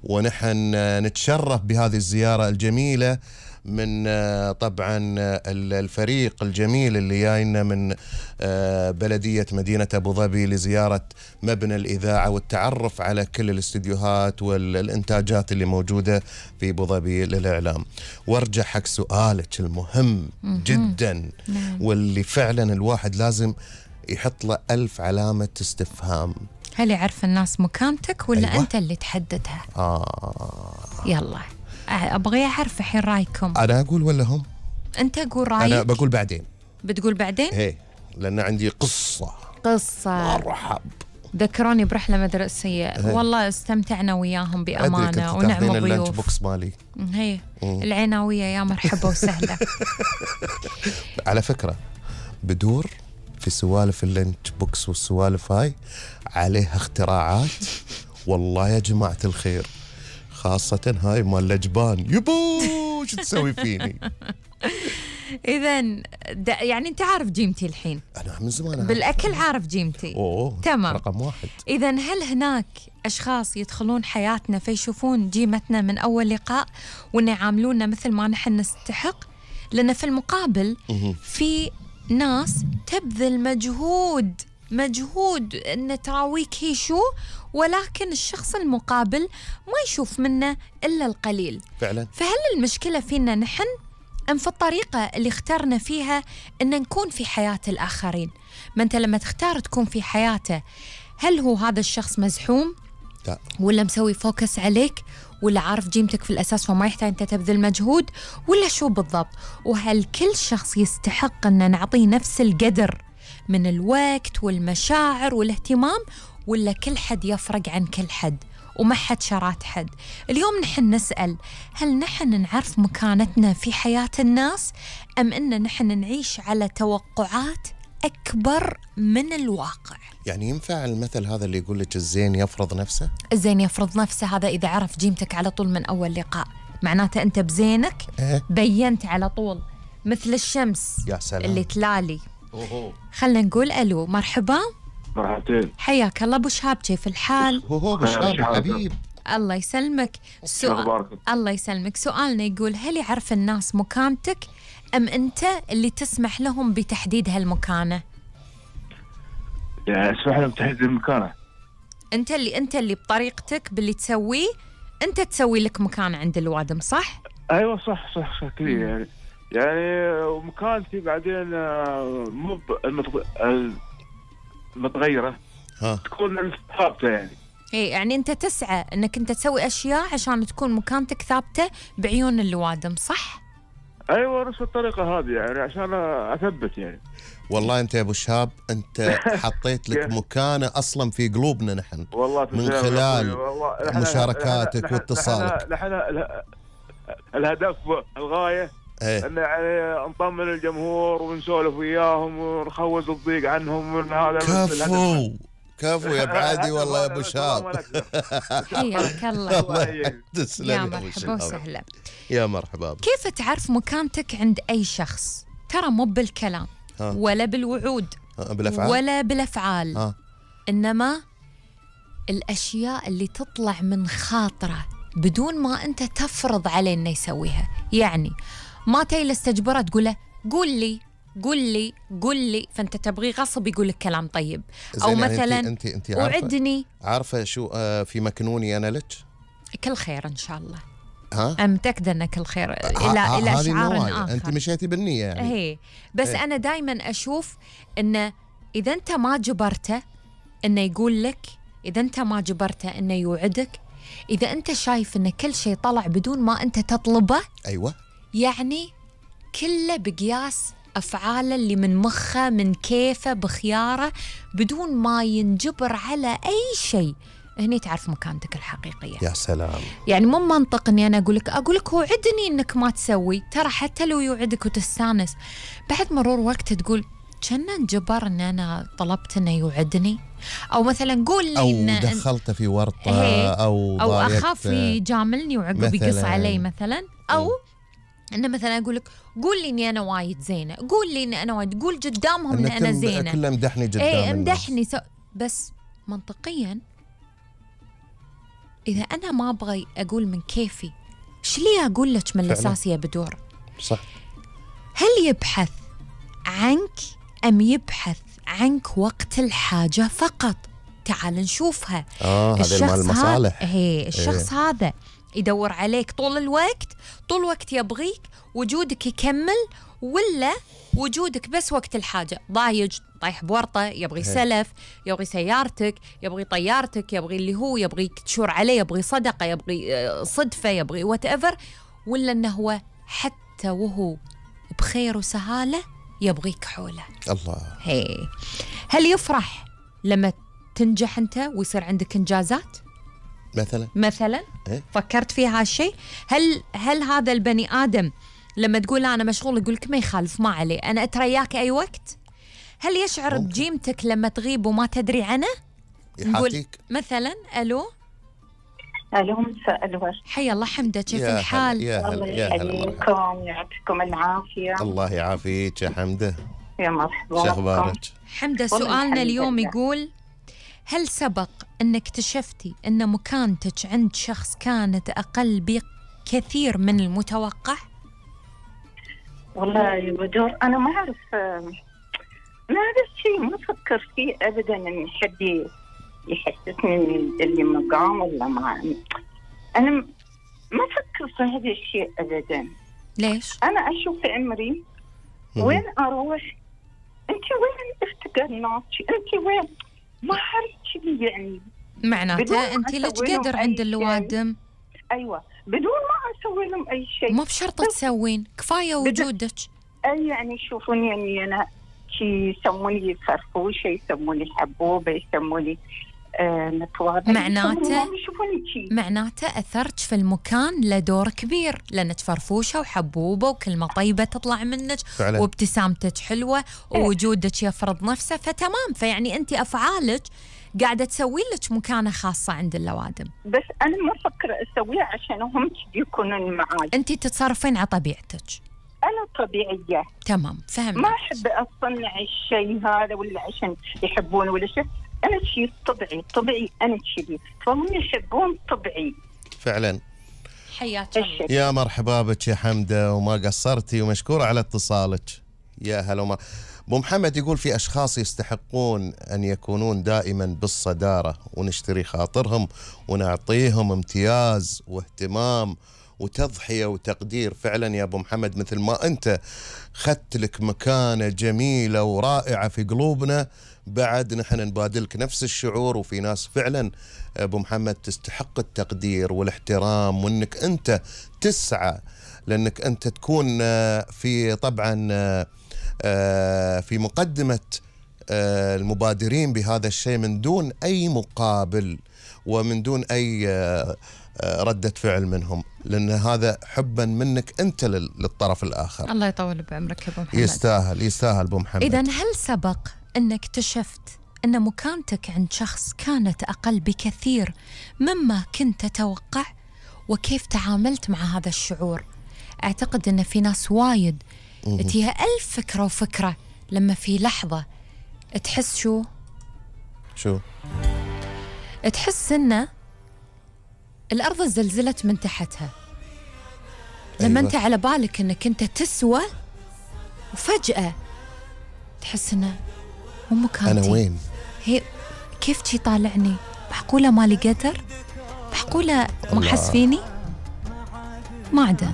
ونحن نتشرف بهذه الزيارة الجميلة من طبعا الفريق الجميل اللي جاينا من بلدية مدينة أبو ظبي لزيارة مبنى الإذاعة والتعرف على كل الاستديوهات والإنتاجات اللي موجودة في أبو ظبي للإعلام. وارجع حق سؤالك المهم جدا واللي فعلا الواحد لازم يحط له 1000 علامة استفهام. هل يعرف الناس مكانتك ولا أيوة؟ أنت اللي تحددها؟ يلا أبغي أعرف الحين رأيكم. أنا أقول ولا هم؟ أنت قول رأيك. أنا بقول بعدين. بتقول بعدين؟ إيه لأن عندي قصة مرحب. ذكروني برحلة مدرسية والله استمتعنا وياهم بأمانة ونعم ضيوف. اللانش بوكس مالي هي العناوية يا مرحبا وسهلا. على فكرة بدور في سوالف اللانش بوكس والسوالف هاي عليها اختراعات والله يا جماعة الخير، خاصة هاي مال لجبان. يبو شو تسوي فيني؟ إذن يعني أنت عارف جيمتي الحين. أنا من زمان بالأكل عارف جيمتي. تمام رقم 1. إذن هل هناك أشخاص يدخلون حياتنا فيشوفون جيمتنا من أول لقاء وإن يعاملونا مثل ما نحن نستحق؟ لأن في المقابل في ناس تبذل مجهود أن تراويك هي شو، ولكن الشخص المقابل ما يشوف منه إلا القليل فعلا. فهل المشكلة فينا نحن أم في الطريقة اللي اخترنا فيها أن نكون في حياة الآخرين؟ ما أنت لما تختار تكون في حياته هل هو هذا الشخص مزحوم؟ لا. ولا مسوي فوكس عليك؟ ولا عارف جيمتك في الأساس وما يحتاج أنت تبذل مجهود؟ ولا شو بالضبط؟ وهل كل شخص يستحق أن نعطيه نفس القدر من الوقت والمشاعر والاهتمام، ولا كل حد يفرق عن كل حد وما حد شرات حد؟ اليوم نحن نسأل هل نحن نعرف مكانتنا في حياة الناس أم أن نحن نعيش على توقعات أكبر من الواقع؟ يعني ينفع المثل هذا اللي يقول لك الزين يفرض نفسه؟ الزين يفرض نفسه هذا إذا عرف جيمتك على طول من أول لقاء معناته أنت بزينك بينت على طول مثل الشمس يا سلام. اللي تلالي. خلنا نقول ألو. مرحبا. مرحبتين. حياك الله أبو شهاب، كيف الحال؟ أبو شهاب حبيب. الله يسلمك. الله يسلمك. سؤالنا يقول هل يعرف الناس مكانتك أم أنت اللي تسمح لهم بتحديد هالمكانة؟ يعني اسمح لهم تحديد المكانة. أنت اللي بطريقتك باللي تسويه أنت تسوي لك مكانة عند الوادم، صح؟ أيوة صح كذا يعني ومكانتي بعدين مو المتغيرة تكون ثابتة يعني. إيه يعني أنت تسعى أنك أنت تسوي أشياء عشان تكون مكانتك ثابتة بعيون اللوادم، صح؟ أيوة نفس الطريقة هذه يعني عشان أثبت يعني. والله أنت يا أبو شهاب أنت حطيت لك مكانة أصلا في قلوبنا نحن والله من خلال مشاركاتك واتصالك. الهدف الغاية أن يعني نطمن الجمهور ونسولف وياهم ونخوز الضيق عنهم من هذا. كفو يا بعادي والله يا ابو شهاب. حياك الله. يا مرحبا وسهلا. يا مرحبا. كيف تعرف مكانتك عند أي شخص؟ ترى مو بالكلام ولا بالوعود ولا بالأفعال إنما الأشياء اللي تطلع من خاطره بدون ما أنت تفرض عليه إنه يسويها. يعني ما تجلس تجبره تقول له قول لي فأنت تبغي غصب يقول لك كلام طيب. أو يعني مثلا انت وعدني. عارفة شو في مكنوني أنا لك؟ كل خير إن شاء الله. أنا متأكدة أن كل خير إلى أشعار آخر. أنت مشيتي بالنية يعني. هي بس أنا دايما أشوف أن إذا أنت ما جبرته أنه يقول لك، إذا أنت ما جبرته أنه يوعدك، إذا أنت شايف أن كل شيء طلع بدون ما أنت تطلبه، أيوة يعني كله بقياس أفعاله اللي من مخه من كيفه بخياره بدون ما ينجبر على أي شيء، هني تعرف مكانتك الحقيقية. يا سلام. يعني مو منطق إني أنا أقول لك وعدني إنك ما تسوي. ترى حتى لو يوعدك وتستانس بعد مرور وقت تقول كنا نجبر إن أنا طلبت إنه يوعدني، أو مثلا قول لي أو دخلته في ورطة أو أخاف يجاملني وعقب يقص علي مثلا، أو أنا مثلا أقول لك قول لي إني أنا وايد زينة، قول لي إني أنا وايد، قول قدامهم إن أنا زينة، كله مدحني قدام امدحني بس منطقيا إذا أنا ما أبغى أقول من كيفي، إيش لي أقول لك من الأساس يا بدور؟ صح. هل يبحث عنك أم يبحث عنك وقت الحاجة فقط؟ تعال نشوفها. هذا مال المصالح. الشخص هذا يدور عليك طول الوقت، طول الوقت يبغيك، وجودك يكمل، ولا وجودك بس وقت الحاجة؟ ضايج، طايح بورطة، يبغي سلف، يبغي سيارتك، يبغي طيارتك، يبغي اللي هو يبغيك تشور عليه، يبغي صدقة، يبغي صدفة، يبغي whatever، ولا أنه هو حتى وهو بخير وسهالة يبغيك حوله؟ الله. هل يفرح لما تنجح أنت ويصير عندك إنجازات مثلا؟ فكرت في هالشيء؟ هل هذا البني آدم لما تقول أنا مشغول يقولك ما يخالف، ما عليه، أنا أترياك أي وقت؟ هل يشعر بجيمتك لما تغيب وما تدري عنه؟ يحاتيك مثلا. ألو مساء الورد. حيا الله حمدة، كيف الحال؟ يا هلا يحييكم، يعطيكم العافية. الله يعافيك يا حمدة. يا مرحبا. شو أخبارك حمدة؟ سؤالنا اليوم يقول: هل سبق أن اكتشفتي أن مكانتك عند شخص كانت أقل بكثير من المتوقع؟ والله يا بدور أنا ما أعرف، ما هذا الشيء ما أفكر فيه أبدا إن حد يحسسني اللي مقام ولا ما. أنا ما أفكر في هذا الشيء أبدا. ليش؟ أنا أشوف عمري وين أروح، أنت وين افتقرناك، أنت وين، ما أعرف يعني. معناته أنت لك قدر عند اللوادم. أيوة، بدون ما أسوي لهم أي شيء. مو بشرط تسوين، كفاية وجودك. يعني يشوفوني يعني أنا شي، يسموني فرفوشة، يسموني حبوبة، يسموني متواضعة. معناته أثرت في المكان لدور كبير، لأنك فرفوشة وحبوبة وكلمة طيبة تطلع منك فعلا. وابتسامتك حلوة ووجودك يفرض نفسه، فتمام. فيعني أنت أفعالك قاعدة تسوي لك مكانة خاصة عند اللوادم. بس أنا ما أفكر أسويها عشان هم يكونون معاي. أنت تتصرفين على طبيعتك. أنا طبيعية. تمام، فهمت. ما أحب أصنع الشيء هذا ولا عشان يحبون ولا شيء. أنا شيء طبيعي أنا شيء، فهم يحبون طبيعي فعلا. حياك الله. يا مرحبا بك يا حمدة، وما قصرتي، ومشكورة على اتصالك. يا هلا. أبو محمد يقول: في أشخاص يستحقون أن يكونون دائما بالصدارة، ونشتري خاطرهم ونعطيهم امتياز واهتمام وتضحية وتقدير. فعلا يا أبو محمد، مثل ما أنت خدت لك مكانة جميلة ورائعة في قلوبنا، بعد نحن نبادلك نفس الشعور. وفي ناس فعلا أبو محمد تستحق التقدير والاحترام، وأنك أنت تسعى لأنك أنت تكون في طبعا في مقدمة المبادرين بهذا الشيء من دون أي مقابل ومن دون أي ردة فعل منهم، لأن هذا حبا منك أنت للطرف الآخر. الله يطول بعمرك يا أبو محمد. يستاهل أبو محمد. إذن هل سبق أنك اكتشفت أن مكانتك عند شخص كانت أقل بكثير مما كنت تتوقع؟ وكيف تعاملت مع هذا الشعور؟ أعتقد أن في ناس وايد تيها ألف فكرة وفكرة لما في لحظة تحس شو؟ تحس أن الأرض زلزلت من تحتها. لما أنت على بالك أنك أنت تسوى، وفجأة تحس أنه مو مكانتي. أنا وين؟ هي كيف تي طالعني؟ معقولة مالي قدر؟ معقولة ما حس فيني؟ ما عدا